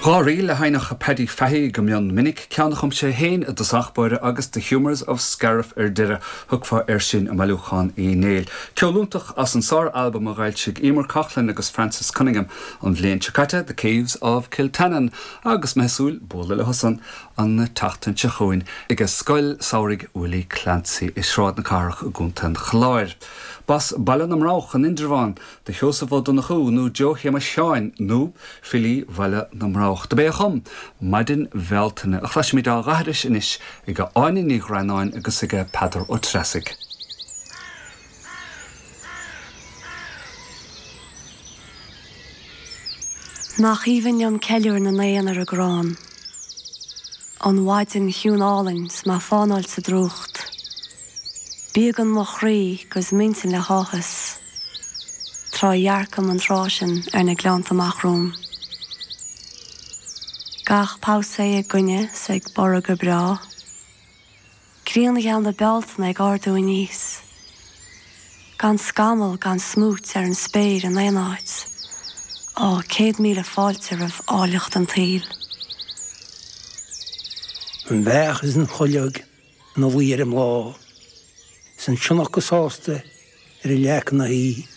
Dá ríl a sheinneadh Paddy Fahey go mion minic, ceann a chum sé féin i dtosach báire agus The Humours of Scariff ar deireadh, thiocfá air sin i mBailiúchán Uí Néill. Ceol iontach as an sár-albam a dh'fhoilsigh Emer Coughlan agus Francis Cunningham an bhliain seo caite, The Caves of Kiltannon, agus mé ag súil bualadh leosan an tseachtain seo chugainn ag Scoil Samhraidh Willie Clancy i Sráid na Cathrach i gContae an Chláir. B'as Baile na mBroghach in Indreabhán do Sheosamh Ó Donnchú, nó Joe Shéamais Sheáin, nó Filí Bhaile na mBroghach. Dob é a chum Maidin Bhealtaine, a chloisfimid á dh'aithris anois ag Áine Ní Ghreanáin agus ag Peadar Ó Treasaigh. Nach aoibhinn liom ceiliúr na n-éan ar an gcrann, An mhaidin chiúin álainn 's mé fánáilt sa drúcht. Bíogann mo chroí 'gus m'intinn le háthas, Tráth a dhearcaim an tráth sin ar na gleannta amach romham. Gach pabhsae ag goineadh 's ag borradh go breá. Grian gheal na Bealtaine ag ardú aníos. Gan scamall gan smúit ar an spéir in aon áit. Á, 100,000 fáilte roimh áilleacht an tsaoil. An bheach is an chuileog ina luí ar an mbláth, is an sionnach go sásta ar an leac ina shuí.